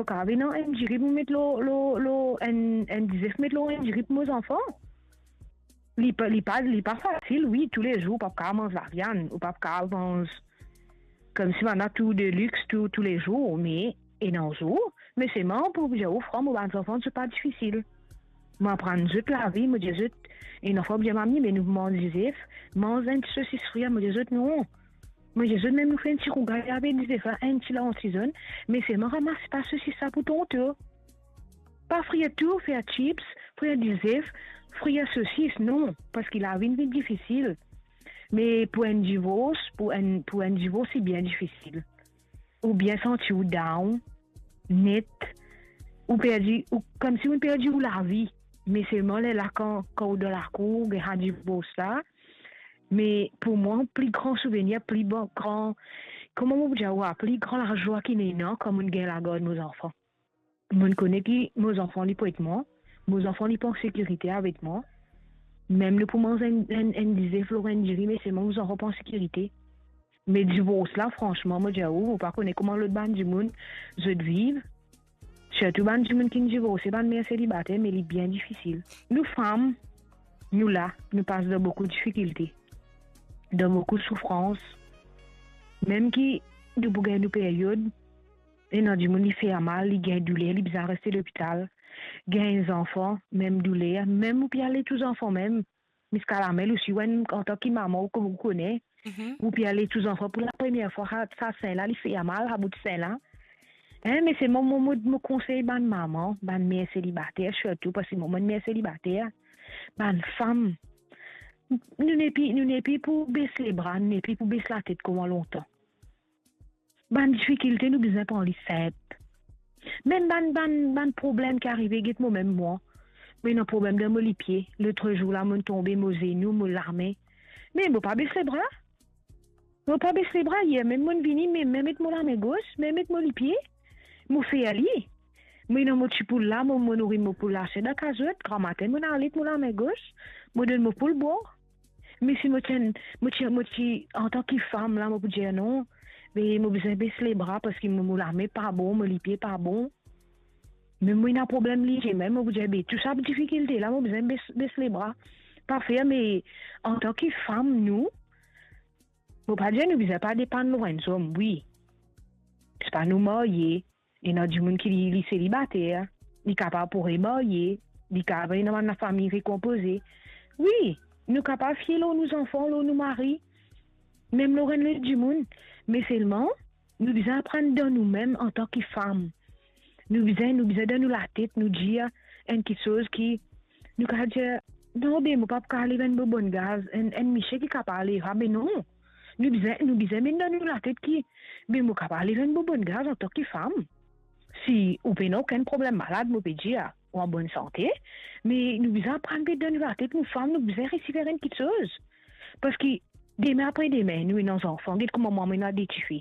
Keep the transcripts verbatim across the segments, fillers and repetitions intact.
Mo kapav ena enn diri pou met lor, lor, lor, enn, enn dizef met lor enn diri pou mo zanfan. Li pa, li pa, li pa fasil, wi, toulezour, ou pa kapav manz laviann, ou pa kapav manz koumsi bann la tou de lix tou, toulezour, me ena zour, me selman pou dir ou fran, mo bann zanfan, zot pa difisil. Mo aprann zot lavi, mo dir zot, ena fwa mo dir mami, me nou manz dizef, manz enn ti sosis frir, mo dir zot non. Mo dir zot mem nou fer enn ti rougay avek dizef la, enn ti lanti zonn, me selman ramas pa sosis sa pou tonton. Pa frir tou, fer chips, frir dizef, frir sosis, non, parski lavi vinn difisil. Me pou enn divors, pou enn, pou enn divors, li bien difisil. Ou bien santi ou down, net, ou perdi, ou, koumsi ou perdi ou lavi. Me selman lerla kan, kan ou dan lakour, ou gagn sa divors la. Me pou mwa, pli gran souvenir, pli bon, gran, kouma mo pou dir ou, pli gran lazwa ki ena, kan mo gagn lagard mo zanfan. Mo kone ki mo zanfan li pou et mwa, mo zanfan li pou an sekirite avek mwa. Mem nou pou manz enn, enn, enn dizef lor enn diri, me selman mo zanfan pou an sekirite. Me divors la, fransman, mo dir ou, mo pa kone kouma lot bann dimoun zot viv. Sirtou bann dimoun ki divorse, bann mer selibater, me li bien difisil. Nou fam, nou la, nou pas dan boukou difikilte, dan boukou soufrans. Mem ki nou pou gagn nou period, ena dimoun li fer mal, li gagn douler, li bizin reste lopital. Gagn zanfan, mem douler, mem ou pe al et ou zanfan mem, miskalamel osi, ou enn, antan ki mama, ou, ou kone, Mhm. Ou pe al et ou zanfan pou lapremier fwa, sa, sa sen la, li fer mal, sa bout sen la. Hein, me se mo, mo, mo, mo konsey bann mama, bann mer selibater sirtou, parski mo, mo enn mer selibater, bann fam, nou nepli, nou nepli pou bes lebra, nou nepli pou bes latet kouma lontan. Bann difikilte, nou bizin pran li sinp. Mem bann, bann, bann problem ki arive, get mo mem mwa. Mo ena problem dan mo lipie. Lotzour la, mo tonbe, mo zenou, mo lame. Me mo pa bes lebra. Mo pa bes lebra. Yer mem mo vini, me, me met mo lame gos, me met mo lipie. Mo fer li. Mo ena mo ti poul la, mo, mo nouri mo poul la, se dan kazot. Gramatin, mo al et mo lame gos. Mo donn mo poul bwar. Me si mo ti enn, mo ti, mo ti, antan ki fam la, mo pou dir non, me mo bizin bes lebra parski mo, mo lame pa bon, mo lipie pa bon. Me mo ena problem lizie mem, mo pou dir, be, tou sa difikilte la, mo bizin bes, bes lebra. Pa fer, me antan ki fam, nou, mo pa dir nou bizin pa depann lor enn zom, wi. Parski nou marye, ena dimoun ki li, li selibater, li kapav pou remarye, li kapav ena bann lafami rekonpoze. Wi, nou kapav fie lor nou zanfan, lor nou mari, mem lor enn lot dimoun, me selman, nou bizin aprann dan nou mem antan ki fam. Nou bizin, nou bizin dan nou latet, nou dir enn kiksoz ki, nou kapav dir, non, be, mo pa pou kapav lev enn bobonn gaz, enn, enn misie ki kapav lev sa, be non. Nou bizin, nou bizin met dan nou latet ki, be, mo kapav lev enn bobonn gaz antan ki fam. Si ou pena okenn problem malad, mo pe dir, ou an bonn sante, me nou bizin aprann met dan nou latet, nou fam, nou bizin resi fer enn kiksoz. Parski demin apre demin, nou ena zanfan, get kouma mwa, mo ena de tifi.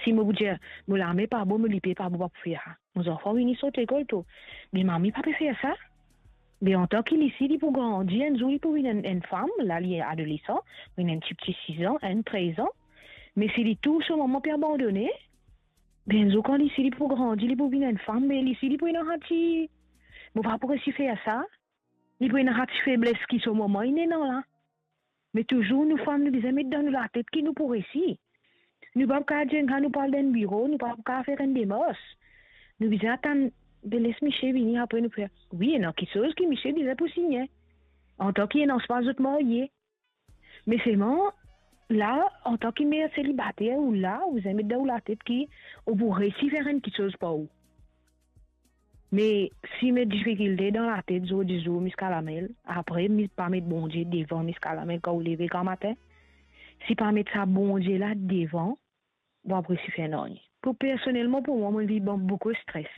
Si mo pou dir, mo lame pa bon, mo lipie pa bon, pa pou fer sa. Mo zanfan vini sot lekol tou. Be mami pa pe fer sa. Be antan ki lisi, li pou grandi, enn zour li pou vinn enn, enn fam, la li adolesan, vinn enn tipti sis an, enn trez an. Me si li tou so mama pe abandone, be enn zour kan lisi li pou grandi, li pou vinn enn fam, me lisi li pou ena sa ti, mo pa pou resi fer sa. Li pou ena sa ti febles ki so mama inn ena la. Me touzour nou fam, nou bizin met dan nou latet ki nou pou resi. Nou pa pou kapav dir enn sa nou pou al dan enn biro, nou pa pou kapav fer enn demars. Nou bizin atann, be les misie vini, apre nou fer. Wi, ena kiksoz ki misie bizin pou signe. Antan ki ena spa zot marye. Me selman, la, antan ki mer selibater, ou la, ou bizin met dan ou latet ki ou pou resi fer enn kiksoz par ou. Me si met difikilte dan latet zordi zour, miskalamel, apre, mi pa met Bondie devan, miskalamel, kan ou leve gramatin, si pa met sa Bondie la devan, ou pa pou resi fer nanye. Pou personelman, pou mwa, mo viv dan boukou stres.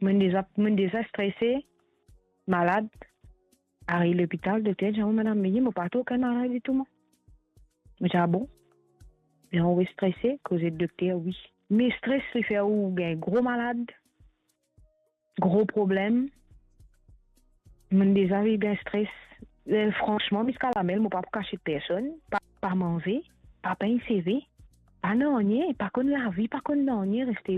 Mo deza, mo deza strese, malad, ariv lopital, dokter dir mwa, madam, me mo pa trouv okenn maladi tou mwa. Mo dir, ah bon? Bien, ou strese, koz ek dokter, wi. Me stres, li fer ou gagn gro malad, gro problem. Mo deza viv gagn stres. Eh, fransman, miskalamel, mo pa pou kasiet personn, pa, pa manze, pa pegn seve, pa nanye, pa konn lavi, pa konn nanye, reste